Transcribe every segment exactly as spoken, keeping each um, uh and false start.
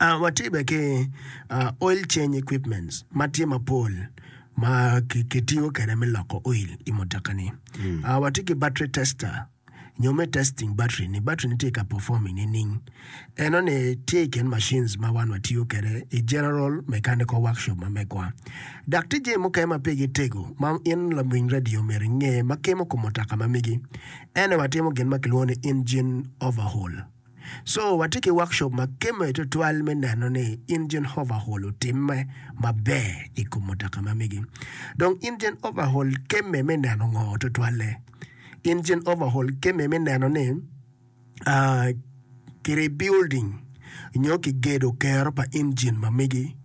Watye bene ki oil change equipments ma tye mapol ma kitiyo kwede me loko oil i mutoka-ni. Watye ki battery tester nyo me testing battery ni battery ni tye ka performing nining. Enoni tye i kin machines ma wan watiyo kwede i general mechanical workshop ma megwa. Dok tye jami mukene ma pigi tego ma in lawiny radio myero inge ma kemo kom mutoka ma megi. Ene watimo gin ma kilwongo ni engine overhaul. So watye ki workshop ma kemme tutwal me neno ni engine overhaul otimme maber i kom mutoka ma megi. Dong engine overhaul kemme me neno ngo tutwalle? Engine overhaul kemme me neno ni ah, ki rebuilding nyo kigedo kero pa engine ma megi.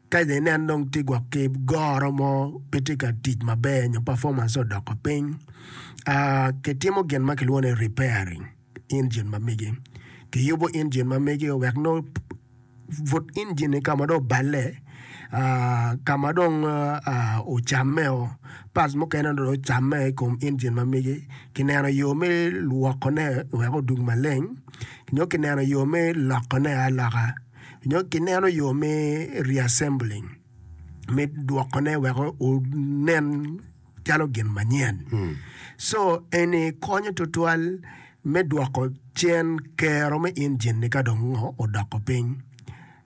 Ka inen dong tye gwok ki goro mo pe tye ka tic maber nyo performance odoko piny, ah, kitimo gin ma kilwongo ni repairing engine ma megi. Kiyubo engine ma megi wek nongo but engine ni ka ma dong oballe, ah, ka ma dong ah, ocammeo, parts mukene dong ocamme i kom engine ma megi, kineno yo me lwokone wek odug maleng, nyo kineno yo me lokone aloka, nyo kineno yo me reassembling, me dwokone wek onen calo gin manyen. So eni konyo tutwal me dwoko cen kero me engine ni ka dong ngo odoko piny.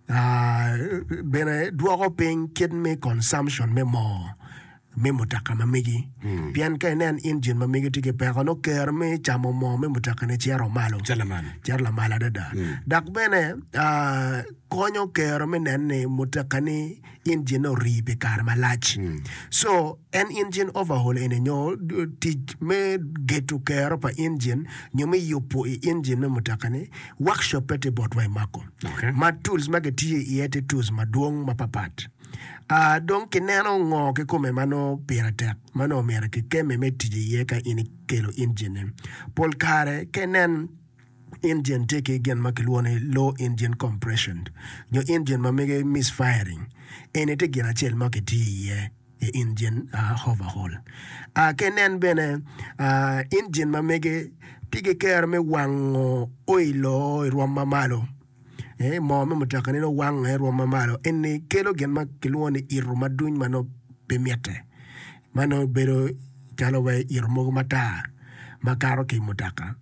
Ah, bene dwoko piny kit me consumption me moo me mutoka ma megi. Pien ka inen engine ma megi tye ki peko nongo kero me camo moo me mutoka ni cito malo. Cito lamal. Cito lamal adada. Dok bene ah, konyo kero me neno ni mutoka ni engine ori pi kare malac. So en engine overhaul eni nyo tic me geto kero pa engine nyo me yubo i engine me mutoka ni workshop pe tye botwa i Mako. Okay. Ma tools ma kitiyo iye tye tools madwong mapapat. Ah, dong kineno ngo kikome ma nongo pire tek ma nongo myero kikemme me tic iye ka in ikelo engine ni. Pol kare ka inen engine tye ki gin ma kilwongo ni low engine compression nyo engine ma mege misfiring, eni tye gin acel ma kitiyo iye i engine uh, overhaul. Uh, ka inen bene uh, engine ma mege tye ki kero me wango oilo i rwom ma malo. Eh, moo me mutoka ni nongo wange i rwom ma malo. Eni kelo gin ma kilwongo ni ito maduny ma nongo pe mitte, ma nongo bedo calo wai ito mogo matar ma kato ki i mutoka.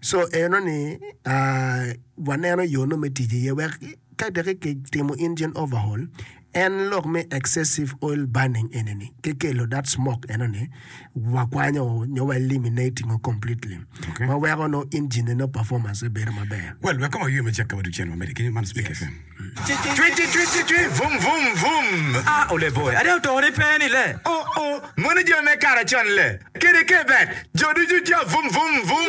So enoni uh, waneno yo nongo me tic iye wek ka dok kitimo engine overhaul, en lok me excessive oil burning enini ki kelo that smoke enoni wakwanyo nyo wa eliminating o completely Okay. ma weko nongo engine no performance bedo maber. Well, wek kong waywe macek ka wadug cen wamedde kenyo man Speak Yes. FM. Cwi cwi cwi cwi cwi vum vum vum. Ah, ole boy, ade otore pe ni le. Oh oh, mono jo me kare con le. Kede ke bet, jo ducu jo vum vum vum.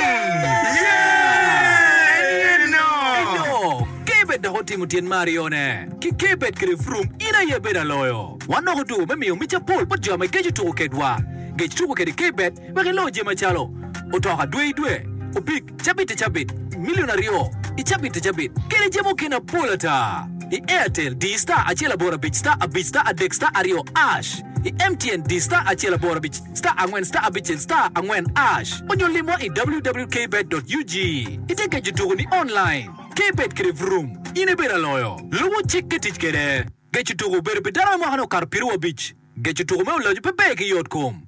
Yeah! En no. Eno, Kbet dok otimo tyen me aryone. Ki Kbet kede Vroom, in aye ibedo aloyo. Wan dok otuko me miyo mic apol bot jo ma igeco tuko kedwa. Gec tuko kede Kbet wek ilo jami macalo, otoka dwe i dwe, opik cabit i cabit, milion aryo i cabit i cabit, kede jami mukene apol ata. I Airtel, di star acel aboro abic star abic star adek star aryo ash. I M T N, di star acel aboro abic star angwen star abicel star angwen ash. Onyo limwa i w w w dot kbet dot u g. Ite geco tuko ni online. Kbet kede Vroom, in ibedo aloyo. Lubo cik ki tic kede. Geco tuko obedo pi dano ma mwakane okato pyeraryo abic. Geco tuko me oloco pe ber ki yot kom.